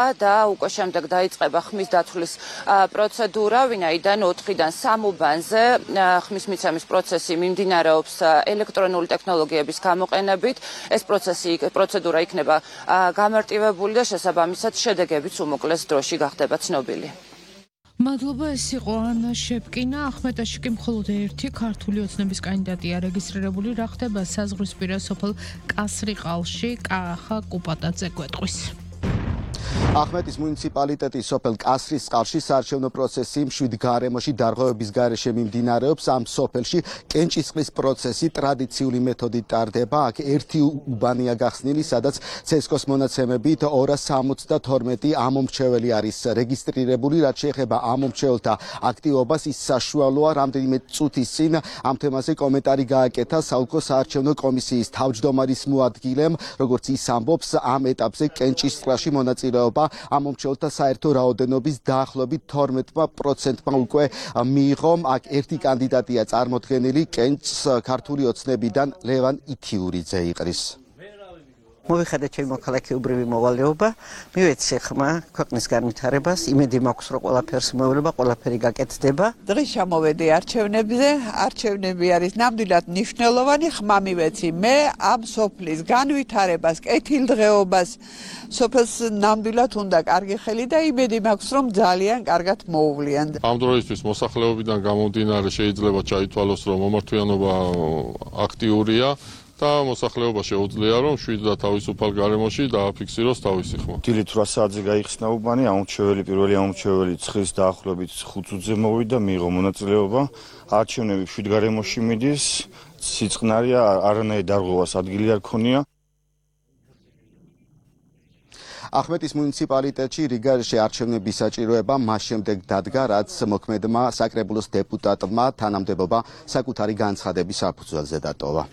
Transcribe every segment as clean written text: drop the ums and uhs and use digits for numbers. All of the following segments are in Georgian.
და უკვე შემდეგ დაიწყება ხმის დათვლის პროცედურა, ვინაიდან 4-დან 3 უბანზე ხმის მიცემის პროცესი მიმდინარეობს ელექტრონული ტექნოლოგიების გამოყენებით. ეს პროცედურა იქნება გამარტივებული და შესაბამისად შედეგებიც უმოკლეს დროში გახდება ცნობილი. მადლობა, ეს იყო ანა შეპკინა. ახმეტაში კი მხოლოდ ერთი ქართული ოცნების კანდიდატია რეგისტრირებული. რა ხდება საზღვრისპირა სოფელ კასრიყალში? კახა კუპატაძე გვეტყვის. ახმეტის მუნიციპალიტეტის სოფელ კასრისყალში საარჩევნო პროცესი მშვიდ გარემოში დარღვევების გარეშე მიმდინარეობს. ამ სოფელში კენჭისყრის პროცესი ტრადიციული მეთოდით ტარდება. აქ ერთი უბანია გახსნილი, სადაც ცესკოს მონაცემებით 272 ამომრჩეველი არის რეგისტრირებული. რაც შეეხება ამომრჩეველთა აქტივობას, ის საშუალოა. რამდენიმე წუთის წინ ამ თემაზე კომენტარი გააკეთა საოლქო საარჩევნო კომისიის თავმჯდომარის მოადგილემ, როგორც ის ამბობს, ამ ეტაპზე კენჭისყრაში მონაწილეობა ამომრჩეველთა საერთო რაოდენობის დაახლოებით 12%-მა უკვე მიიღო. აქ ერთი კანდიდატია წარმოდგენილი, კენჭს ქართული ოცნებიდან ლევან ითიურიძე იყრის. მოვიხადე ჩემი მოქალაქეობრივი მოვალეობა, მივეცე ხმა ქვეყნის განვითარებას, იმედი მაქვს, რომ ყველაფერს მოევლება, ყველაფერი გაკეთდება. დღეს ჩამოვედი არჩევნებზე, არჩევნები არის ნამდვილად მნიშვნელოვანი, ხმა მივეცი მე ამ სოფლის განვითარებას, კეთილდღეობას, სოფელს ნამდვილად უნდა კარგი ხელი და იმედი მაქვს, რომ ძალიან კარგად მოუვლიან. ამ დროისთვის მოსახლეობიდან გამომდინარე შეიძლება ჩაითვალოს, რომ მომართვიანობა აქტიურია. და მოსახლეობა შეუძლია რომ 7 და თავისუფალ გარემოში დააფიქსიროს თავისი ხმა. დილით 8 საათზე გაიხსნა უბანი, პირველი ამომრჩეველი ცხრის დაახლოებით 5 წუთზე მოვიდა, მიიღო მონაწილეობა. არჩევნები 7 გარემოში მიდის, სიწყნარია, არანაირი დარღვევას ადგილი არ ქონია. ახმეტის მუნიციპალიტეტში რიგარეშე არჩევნების საჭიროება მას შემდეგ დადგა, რაც მოქმედმა საკრებულოს დეპუტატმა თანამდებობა საკუთარი განცხადების საფუძველზე დატოვა.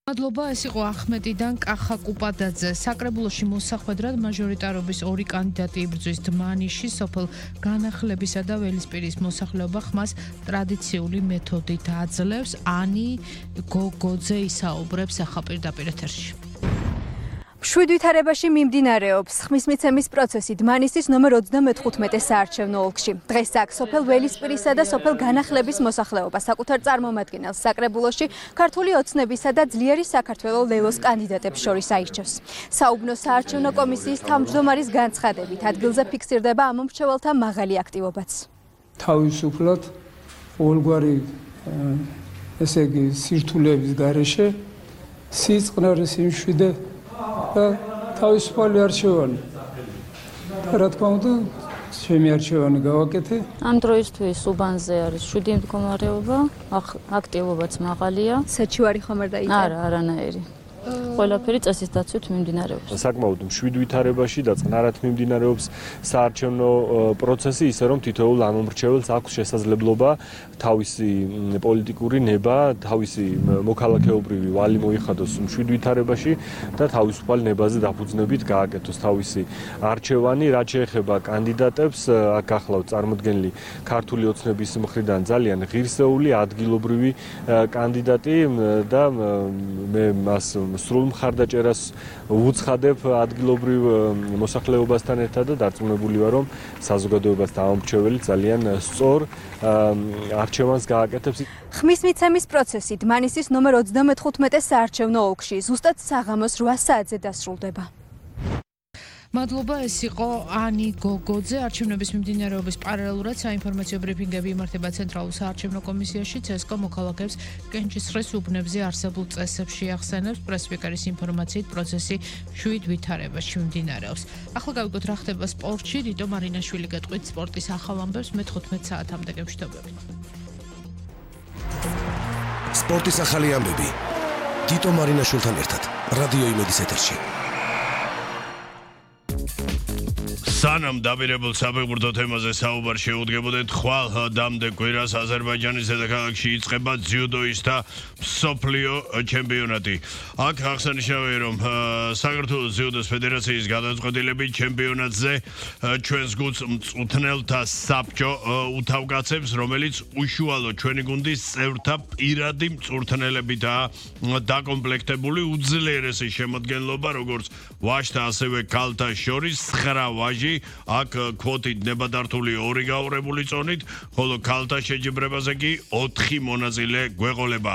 მადლობა, ეს იყო ახმეტიდან კახა კუპატაძე. საკრებულოში მოსახვედრად მაჟორიტარობის 2 კანდიდატი იბრძვის დმანიში სოფელ განახლებისა და ველისპირის მოსახლეობა ხმას ტრადიციული მეთოდით აძლევს. ანი გოგოძე ისაუბრებს ახლა პირდაპირ ეთერში. მშვიდ ვითარებაში მიმდინარეობს ხმის მიცემის პროცესი დმანისის ნომერ 34 საარჩევნო ოლქში. დღეს აქ სოფელ ველისპირისა და სოფელ განახლების მოსახლეობა საკუთარ წარმომადგენელს საკრებულოში ქართული ოცნებისა და ძლიერი საქართველოს ლელოს კანდიდატებს შორის აირჩევს. საუბნო საარჩევნო კომისიის თავმჯდომარის განცხადებით ადგილზე ფიქსირდება ამომრჩეველთა მაღალი აქტივობაც. თავისუფლად ყოველგვარი ესე იგი სირთულეების გარეშე სიწყნარის იმშვიდე და თავისუფალი არჩევანი. რა თქმა უნდა, ჩემი არჩევანი გავაკეთე. ამ დროისთვის უბანზე არის 7 მდგომარეობა, აქტივობაც მაღალია. საჩივარი ხომ არ დაიწყო? არა, არანაირი. ყველაფერი წესის დაცვით მიმდინარეობს. საკმაოდ მშვიდ ვითარებაში და წყნარად მიმდინარეობს საარჩევნო პროცესი, ისე რომ თითოეულ ამომრჩეველს აქვს შესაძლებლობა თავისი პოლიტიკური ნება, თავისი მოქალაქეობრივი ვალი მოიხადოს მშვიდ ვითარებაში და თავისუფალ ნებაზე დაფუძნებით გააკეთოს თავისი არჩევანი. რაც შეეხება კანდიდატებს, აქ ახლავთ წარმოდგენილი ქართული ოცნების მხრიდან ძალიან ღირსეული, ადგილობრივი კანდიდატი და მე მას სრულ მხარდაჭერას ვუცხადებ ადგილობრივ მოსახლეობასთან ერთად და დარწმუნებული ვარ, რომ საზოგადოებას ამომრჩეველი ძალიან სწორ არჩევანს გააკეთებს. ხმის მიცემის პროცესი დმანისის ნომერ 34 საარჩევნო ოლქში ზუსტად საღამოს 8 საათზე დასრულდება. მადლობა, ეს იყო ანი გოგოძე. არჩევნების მიმდინარეობის პარალელურად საინფორმაციო ბრიფინგები იმართება ცენტრალურ საარჩევნო კომისიაში. ცესკო მოქალაქეებს კენჭისყრის უბნებზე არსებულ წესებს შეახსენებს. პრესპიკერის ინფორმაციით პროცესი 7 ვითარებაში მიმდინარეობს. ახლა გავიგოთ რა ხდება სპორტში. რიტო მარინაშვილი გეტყვით სპორტის ახალ ამბებს. მე 15 საათამდე გევშთობებით. სპორტის ახალი ამბები. თიტო მარინაშვილთან ერთად რადიო იმედის ეთერში. სანამ დაპირებულ საფეხბურთო თემაზე საუბარ შეუდგებოდეთ, ხვალ დამდეგ კვირას აზერბაიჯანის დედაქალაქში იწყება ძიუდოისტთა მსოფლიო ჩემპიონატი. აქ აღსანიშნავია, რომ საქართველოს ძიუდოს ფედერაციის გადაწყვეტილებით ჩემპიონატზე ჩვენს გუნდს მწვრთნელთა საბჭო უთავკაცებს, რომელიც უშუალო ჩვენი გუნდის წევრთა პირადი მწვრთნელებითაა დაკომპლექტებული. უძლიერესი შემადგენლობა, როგორც ვაჟთა, ასევე ქალთა შორის 9 ვაჟი, აქ კვოტით ნებადართული 2 გაურებული წონით, ხოლო ქალთა შეჯიბრებაზე კი 4 მონაწილე გვეყოლება.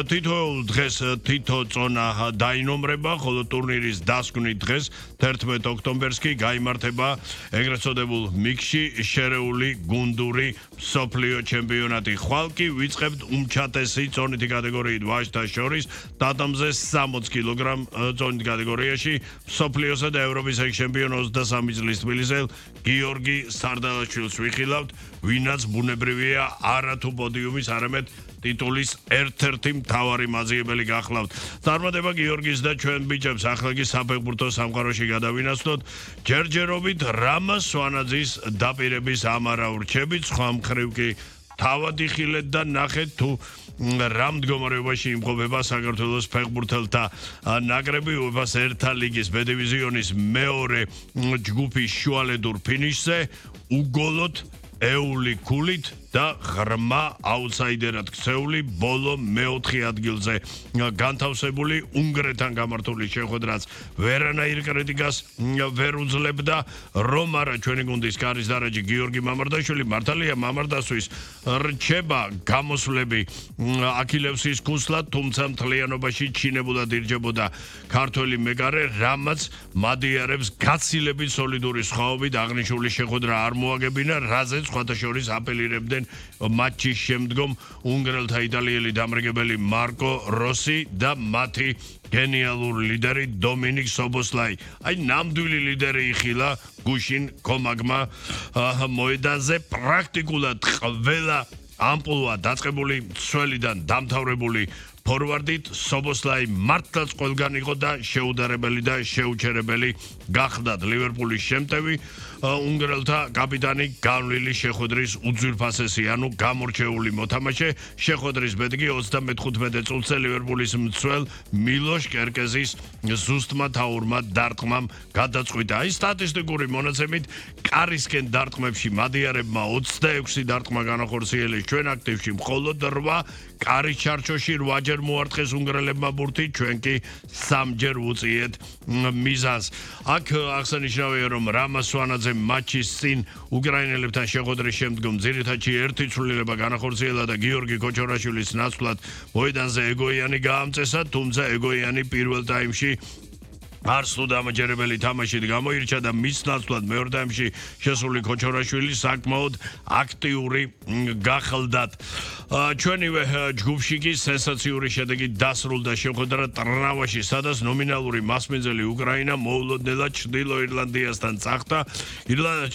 თითოეულ დღეს თითო წონა დაინომრება, ხოლო ტურნირის დასკვნით დღეს 11 ოქტომბერს კი გაიმართება ეგრეთ წოდებულ მიქში შერეული გუნდური მსოფლიო ჩემპიონატი. ხვალ კი ვიწყებთ უმჩატესი წონითი კატეგორიით ვაჟთა შორის დადამზე 60 კილოგრამ წონით კატეგორიაში მსოფლიოსა და ევროპის ჩემპიონ 23 წლის თბილისელ გიორგი სარდალაშვილს ვიხილავთ, ვინაც ბუნებრივია არათუ პოდიუმის, არამედ ტიტულის ერთ-ერთი მთავარი მაძიებელი გახლავთ. წარმატება გიორგის და ჩვენ ბიჭებს ახლა კი საფეხბურთო სამყაროში გადავინაცვლოთ. ჯერჯერობით რამაზ სვანაძის დაპირების ამარა ურჩებით, სხვა მხრივ კი თავად იხილეთ და ნახეთ თუ რა მდგომარეობაში იმყოფება საქართველოს ფეხბურთელთა ნაკრები UEFA-ს ერთა ლიგის B დივიზიონის მეორე ჯგუფის შუალედურ ფინიშზე უგოლოდ ეული ქულით და ღრმა აუთსაიდერად ქცეული ბოლო მეოთხე ადგილზე განთავსებული უნგრეთთან გამართული შეხვედრაც ვერანაირ კრიტიკას ვერ უძლებდა, რომ არა ჩვენი გუნდის კარის დარაჯი გიორგი მამარდაშვილი მართალია მამარდასთვის რჩება გამოსვლები აქილევსის ქუსლად, თუმცა მთლიანობაში ჩინებულად ირჯებოდა ქართველი მეკარე, რამაც მადიარებს გაცილებით სოლიდური სხვაობით აღნიშნული შეხვედრა არ მოაგებინა, რაზეც სხვათა შორის აპელირებდნენ матчის შემდგომ უნგრელთა იტალიელი დამრიგებელი მარკო როსი და მათი გენიალური ლიდერი დომინიკ სობოსლაი. აი ნამდვილი ლიდერი იხილა გუშინ კომაგმა მოედანზე პრაქტიკულად ყველა ამპლუა დაწყებული მცველიდან დამთავრებული ფორვარდით სობოსლაი მართლაც ყველგან იყო და შეუდარებელი და შეუჩერებელი გახდათ ლივერპულის შემტევი უნგრელთა კაპიტანი განვლილი შეხვედრის უძვირფასესი, ანუ გამორჩეული მოთამაშე. შეხვედრის ბედი 35 წუთზე ლივერპულის მცველ მილოშ კერკეზის ზუსტმა თაურმა დარტყმამ გადაწყვიტა. აი სტატისტიკური მონაცემით კარისკენ დარტყმებში მადიარებმა 26 დარტყმა განახორციელეს, ჩვენ აქტივში მხოლოდ 8, კარის ჩარჩოში 8-ჯერ მოარტყეს უნგრელებმა ბურთი, ჩვენ კი 3-ჯერ ვუწიეთ მიზანს. აქ აღსანიშნავია, რომ რამაზ სვანაძე матчის წინ უკრაინელებთან შეხვედრის შემდგომ ძირითადში ერთი ცვლილება განახორციელა და გიორგი კოჩორაშვილის ნაცვლად მოედანზე ეგოიანი გაამწესა, თუმცა ეგოიანი პირველ ტაიმში არც თუ დამაჯერებელი თამაშით გამოირჩა და მის ნაცვლად მეორე ტაიმში შესული კოჩორაშვილი საკმაოდ აქტიური გახლდათ. ჩვენივე ჯგუფში კი სენსაციური შედეგით დასრულდა შეხვედრა ტრნავაში, სადაც ნომინალური მასპინძელი უკრაინა მოულოდნელად ჩრდილო ირლანდიასთან წახდა.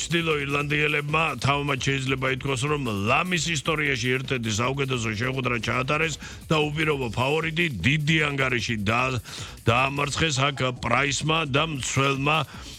ჩრდილო ირლანდიელებმა თავმაც შეიძლება ითქვას, რომ ლამის ისტორიაში ერთ-ერთი საუკეთესო შეხვედრა ჩაატარეს და უპირობო ფავორიტი დიდი ანგარიში დაამარცხეს აქ პრაისმა და მცველმა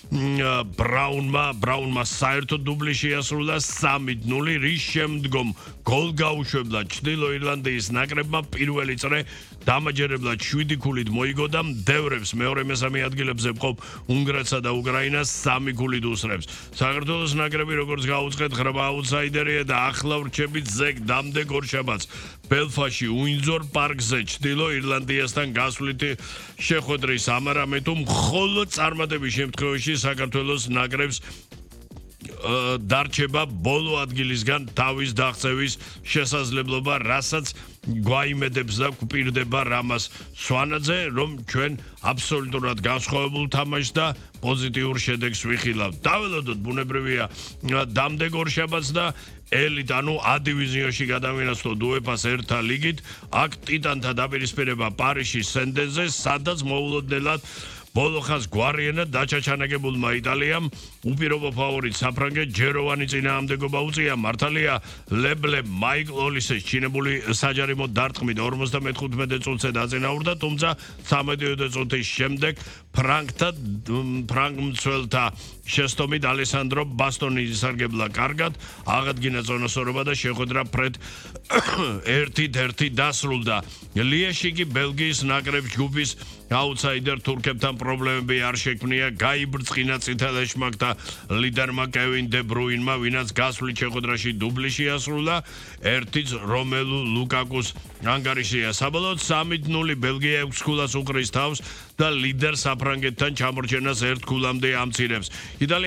ბრაუნმა საერთოდ დუბლი შეასრულა 3-0, რის შემდგომ გოლ გაუშვებლა ჩრდილო ირლანდიის ნაკრებმა პირველი წრე დამაჯერებლად 7 ქულით მოიგო და მდევრებს მეორე-მესამე ადგილებზე მყოფ უნგრეთსა და უკრაინას 3 ქულით უსრებს. საქართველოს ნაკრები, როგორც გაუწყვეტ, ღრმა აუთსაიდერია და ახლა ვრჩებით ზეგ დამდეგ ორშაბათს ბელფაში უინძორ პარკზე ჩრდილო ირლანდიასთან გასვლითი შეხვედრის ამარამე თუ მხოლოდ წარმატების შემთხვევაში საქართველოს ნაკრებს დარჩება ბოლო ადგილისგან თავის დაღწევის შესაძლებლობა, რასაც გვაიმედებს და გვპირდება რამაზ სვანაძე, რომ ჩვენ აბსოლუტურად განსხვავებულ თამაშს და პოზიტიურ შედეგს ვიხილავთ. დაველოდოთ ბუნებრივია დამდეგ ორშაბათს და ელიტ, ანუ A დივიზიონში გადავინაცვლოთ UEFA-ს ერთა ლიგით, აქ ტიტანთა დაპირისპირება პარიზში სენდენზე, სადაც მოულოდნელად ბოლო ხანს გვარიანად დაჩაჩანაგებულმა იტალიამ უპირობო ფავორიტ საფრანგეთ ჯეროვანი წინააღმდეგობა უწია. მართალია ლებლე მაიკლ ოლისეს ჩინებული საჯარიმო დარტყმით 55 წუთზე დაწინაურდა, თუმცა 13 წუთის შემდეგ ფრანგ მცველთა შეცდომით ალესანდრო ბასტონი ისარგებლა კარგად, აღადგინა ზონასორობა და შეხვედრა ფრედ 1-1 დასრულდა. ლიეში კი ბელგიის ნაკრებს ჯგუფის აუთსაიდერ თურქებთან პრობლემები არ შექმნია, გაიბრწყინა წითელ ეშმაკთა ლიდერმა კევინ დე ბრუინმა, ვინაც გასვლით შეხვედრაში დუბლი შეასრულა, 1-ს რომელუ ლუკაკუს ანგარიშია. საბოლოოდ 3-0 ბელგია 6 ქულას უყრის თავს და ლიდერ საფრანგეთთან ჩამორჩენას 1 ქულამდე ამცირებს.